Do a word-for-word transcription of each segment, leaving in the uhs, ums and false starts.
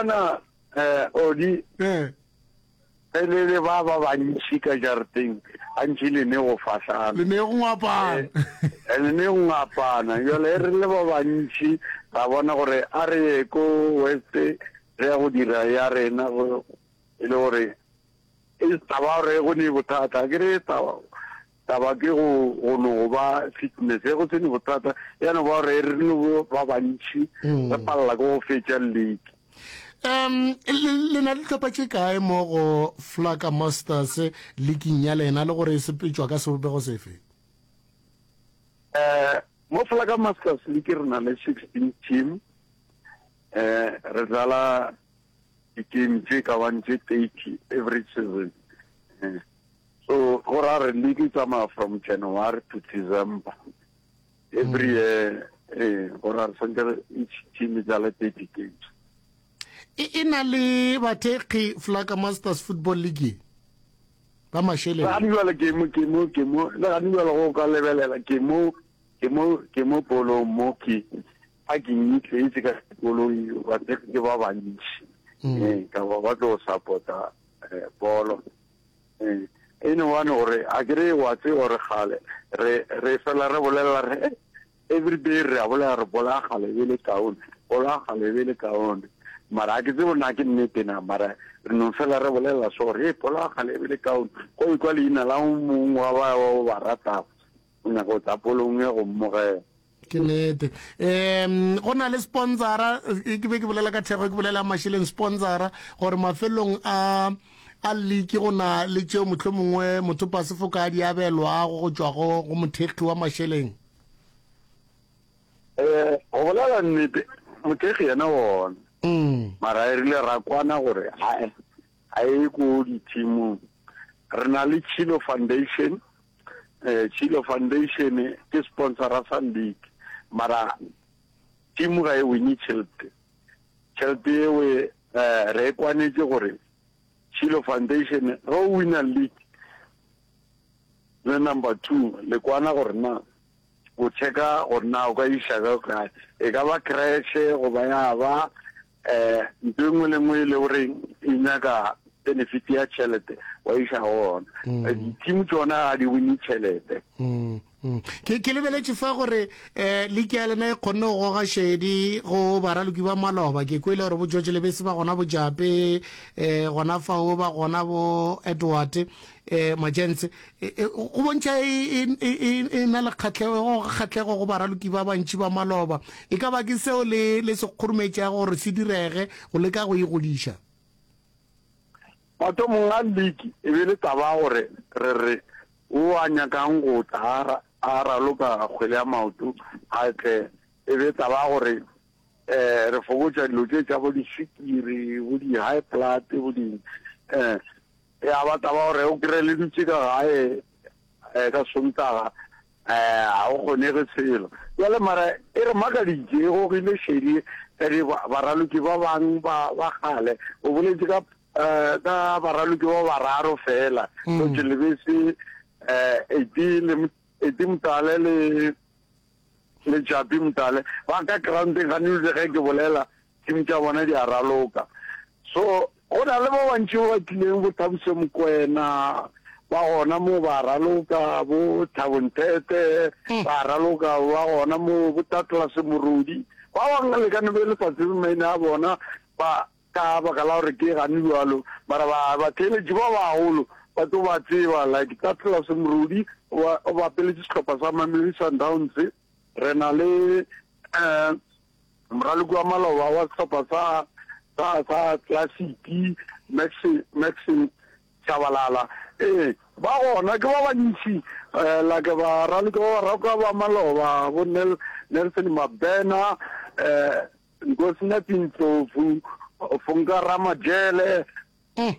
bona eh odi Eh. ge le le ba ba bantši ka jarateng gantši le ne go fahlana Le ne go ngwapana. Eh, le ne go ngapana jale e re le ba bantši ra bona gore a re ye ko west re ya go dira ya rena go e le gore e taba gore go ne bothata ke re taba taba ke go go no go ba fitness e go se ne bothata ya no ba gore re no ba bantši Mm. re palela ke go fetša league Um le le na le dihlopha tše kae mo go Flaka Masters leaking ya lena le gore e sepetšwa ka sebopego sefe? eh mo Flaka Masters League re na le sixteen team eh re dlala di-game tše ka bang tše thirty every season eh, so go ra re league e tsamaya from January to December every year eh go ra re swantse re each team e dlale thirty games E e na le bathekgi Flaka Masters Football League ba mašeleng. gane jwale ke mo ke mo ke mo le gane jwale go ka lebelela ke mo ke mo ke mo polong mo ke a ke nyitletse ka koloi bathekgi ke ba bantši eh ka ba ba tlo support-a eh, bolo eh e no one gore a ke re wa tse gore gale re re fela re bolela re eh, every day re a bolela re bola gale be le kaone bola gale be le kaone mara a ke tsebe na ke nnete na mara re no fela re bolela so gore e bola gale be le kaone go ikwa leina la o mongwe wa ba o ba ratago o nyaka go tla polong e go mmogela ke nnete um go na le sponsora eh, ke be ke bolela ka thekgo ke bolela mašeleng sponsora gore mafelong a a league go na le tšeo motlho mongwe mothopa sefoka a di abelwago go tšwa go go mothekgi wa mašeleng um go bolela nnete mothekgi yena wona mm. mara e rile ra kwana gore ga ga e ko di-teamong re na le Chilo Foundation eh Chilo Foundation ke sponsora sa league mara team ga e wine tšhelete tšhelete eo eh re e kwanetše gore Chilo Foundation ge o wina league le number two le kwana gore na o checka gore na o ka iša ka kae e ka ba creche goba ya ba eh ntho e nngwe le nngwe e le gore e nyaka benefit ya tšhelete wa iša go ona di-team tsona ga di wine tšhelete Mm, mm. ke ke lebeletše fa gore um league ya lena e kgonne go goga šedi go baraloki ba maloba ke kwele gore bo George Lebese ba gona bo Jape um gona fao ba gona bo Edward um Majense go bontšha e, e, e, e, e na le kgatlhego go kgatlhego go baraloki ba bantši ba maloba e ka ba ke seo le le se kgorometšago gore se direge go leka go e godiša mathomong a league e be le taba ya gore re re o a nyakang go tla a ra- a raloka kgwele ya maoto a tle e be taba ya gore um re fokotša dilo tše tša bo diswikiri bo di-high blood bo di um ya ba taba gore o kry le dutše ka gae um ka sontaga um ga o kgonege selo jale mara e re makaditše e gogile šedi ka di baraloki ba bang ba ba kgale o boletše ka um ka baraloki ba bararo fela George Lebese um Eti le Eti Motale le le Japi Motale ba ka groundeng ga ne ge ke bolela team tša bona di a raloka so go na le ba bantši ba ba tlileng bo Thabiso Mokwena ba gona mo ba raloka bo Thabo Nthete ba raloka ba gona mo bo Tatlas Morodi ba bangwe le ka no be le sa tsebe maina a bona ba ka baka la gore ke gane jalo mara ba batheeletši ba bagolo ba tlo ba tseba like Tatlas Morodi o bapeletše sehlopha sa Mamelodi Sundowns re na le um moraloki wa maloba wa sehlopha sa sa sa Classic Max Maxim Tshabalala ee ba gona ke ba bantši um like baraloki ba baraloka ba maloba bo Nelson Mabena um Nkosinathi Ndlovu Funka Ramajele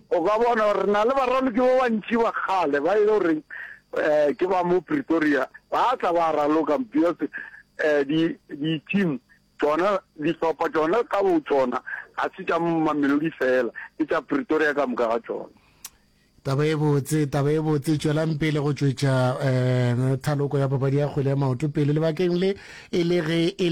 o ka bona gore re na le baraloki ba bantši ba kgale ba e le gore um ke ba mo Pretoria ba tla ba raloka because um di-team tsona dihlopha tsona ka bo tsona ga se tša Mamelodi fela ke tša Pretoria ka moka ga tsona taba e botse taba e botse tšwelang pele go tšwetša um thaloko ya papadi ya kgwele ya maoto pele lebakeng le e le ge e